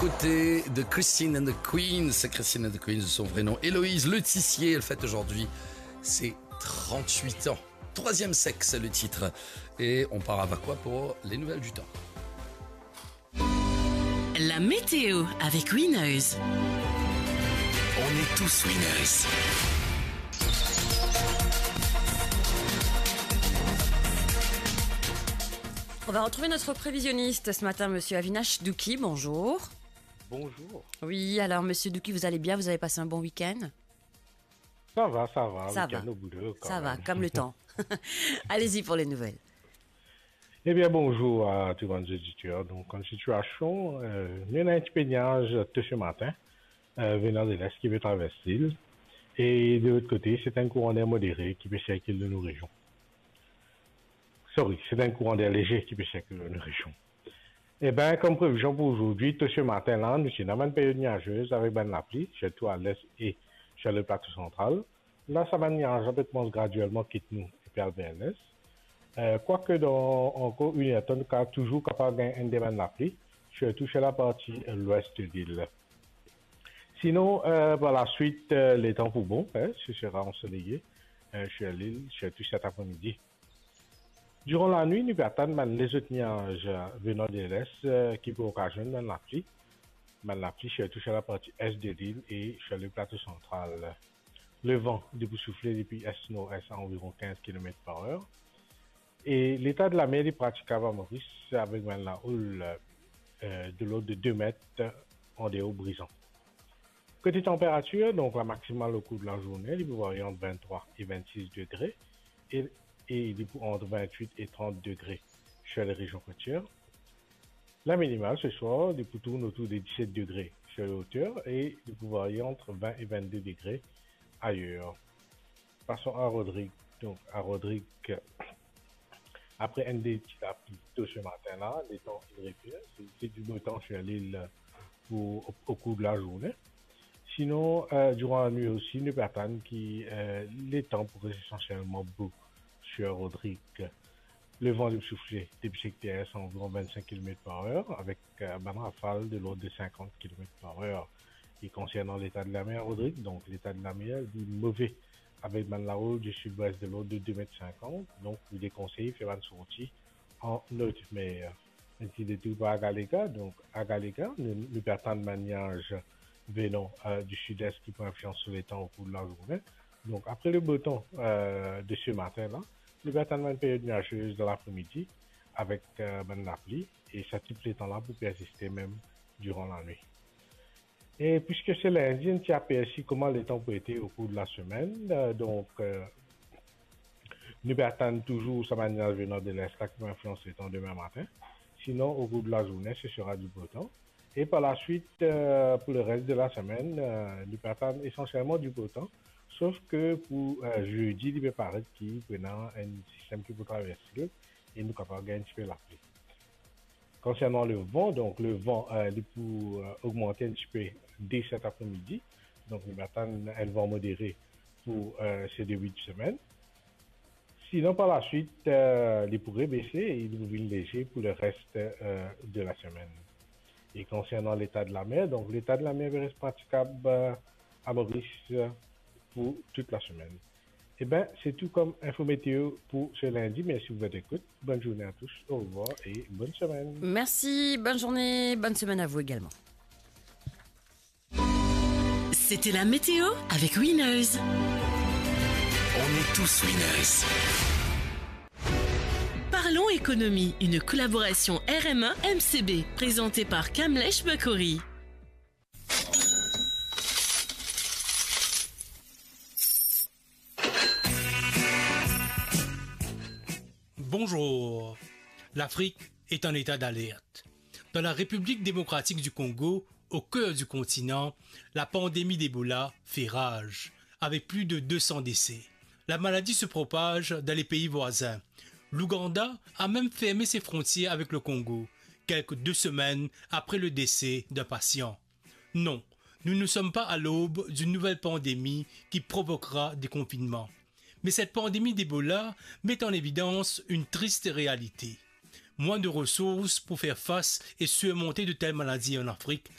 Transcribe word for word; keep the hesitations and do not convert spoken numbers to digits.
Côté de Christine and the Queens, Christine and the Queens de son vrai nom, Héloïse Letissier, elle fête aujourd'hui ses trente-huit ans. Troisième sexe, le titre. Et on part à Vacoas pour les nouvelles du temps. La météo avec Winners. On est tous Winners. On va retrouver notre prévisionniste ce matin, monsieur Avinash Douki. Bonjour. Bonjour. Oui, alors, monsieur Douki, vous allez bien ? Vous avez passé un bon week-end ? Ça va, ça va, ça va. Week-end au boulot, quand même. Ça va, comme le temps. Allez-y pour les nouvelles. Ebien, bonzour a tou bann zoditer. Donk, an sitiasion, euh, nou ena enn tipe niaz to se matin, euh, venan de lest ki pe travers lil. E de lot kote, se enn kouran der modere ki pe sirkil dan nou rezion. Sorry, se enn kouran der lezer ki pe sirkil dan nou rezion. Ebien, kom previzion pou azordi, to se matin la, nou ti ena bann period niazez avek bann lapli, sirtou a lest e sir le plato santral. La, sa bann niaz la pe koumans gradielman kit nou epi al ver lest. Euh, kwake dan ankor enn er tan, nou ka touzour kapav gagn enn de bann lapli, sirtou sir laparti, euh, lwes de lil. Sinon, euh, par laswit, euh, letan pou bon, hein, se sera ansoleye, euh, sir lil, sirtou set apremidi. Diran lanwit, nou pe atann bann lezot niaz, euh, venan de lest, euh, ki pou okazionn bann lapli. Bann lapli sirtou sir laparti est de lil e sir le plato santral. Levan li pou soufle depi est-nord-est a anviron quinze kilomètres par heure. E leta de lamer li pratikab a Moris avek bann laoul, euh, de lord de de met an deor brizan. Kote tanperatir, donk, la maksimal okour de lazourne, li pou varie ant vinn-trwa e vinn-sis degre e, e li pou ant vinn-wit e trant degre sir le rezion kotier. La minimal se swar, li pou tourn otour de diset degre sir le oter e li pou varie ant vinn e vinn-de degre ayer. Pason a Rodrig. Donk, a Rodrig, apre enn de ti lapli to se matin la, letan inn repir, se, se di bo tan sir lil pou, o, okour de lazourne. Sinon, euh, diran lanwit osi, nou pe atann ki, euh, letan pou res esansielman bo sir Rodrig. Levan li pou soufle depi sekter est a anviron vinn-sink kilomet par er, avek, euh, bann rafal de lord de sinkant kilomet par er. E konsernan leta de lamer, Rodrig, donk, leta de lamer li move avek bann laoul di sidwes de lord de de met sinkant, donk nou dekonsey fer bann sorti an not mer. Enn ti detour par Agalega, donk Agalega, nou, nou pe atann bann niaz venan, euh, di sid-est ki pou inflians so letan okour de lazourne. Donk, apre le bo tan, euh, de se matin la, nou pe atann bann period niazez dan lapremidi avek, euh, bann lapli, e sa tip letan la pou persiste mem diran lanwit. E piske se lindi, enn ti apersi kouma letan pou ete okour de lasemenn. Euh, donk, euh, nou pe atann touzour sa bann niaz venan de lest la ki pou inflians letan demin matin. Sinon, okour de lazourne, se sera di bo tan. E par laswit, euh, pou le res de lasemenn, euh, nou pe atann esansielman di bo tan, sof ke pou, euh, zedi, li pe paret ki pou ena enn sistem ki pou traverse e nou kapav gagn enn tipe lapli. Konsernan levan, donk levan, euh, li pou, euh, ogmante enn tipe de set apremidi. Donk, nou pe atann enn van modere pou, euh, se debi de semenn. Sinon, par laswit, euh, li pou rebese e li pou vinn lezer pou le res, euh, de lasemenn. E konsernan leta de lamer, donk leta de lamer pe res pratikab, euh, a Moris, euh, pou tout lasemenn. Eben, se tou kom info meteo pou se lindi. Mersi pou vot ekout. Bonn zourne a tous. Orevwar e bonn semenn. Merci, bonne journée, bonne semaine à vous également. C'était la météo avec Winners. On est tous Winners. Parlons économie, une collaboration R M A M C B, présentée par Kamlesh Bakori. Bonjour. L'Afrique est en état d'alerte. Dans la République démocratique du Congo, au cœur du continent, la pandémie d'Ebola fait rage, avec plus de deux cents décès. La maladie se propage dans les pays voisins. L'Ouganda a même fermé ses frontières avec le Congo, quelques deux semaines après le décès d'un patient. Non, nous ne sommes pas à l'aube d'une nouvelle pandémie qui provoquera des confinements. Mais cette pandémie d'Ebola met en évidence une triste réalité. Moins de ressources pour faire face et surmonter de telles maladies en Afrique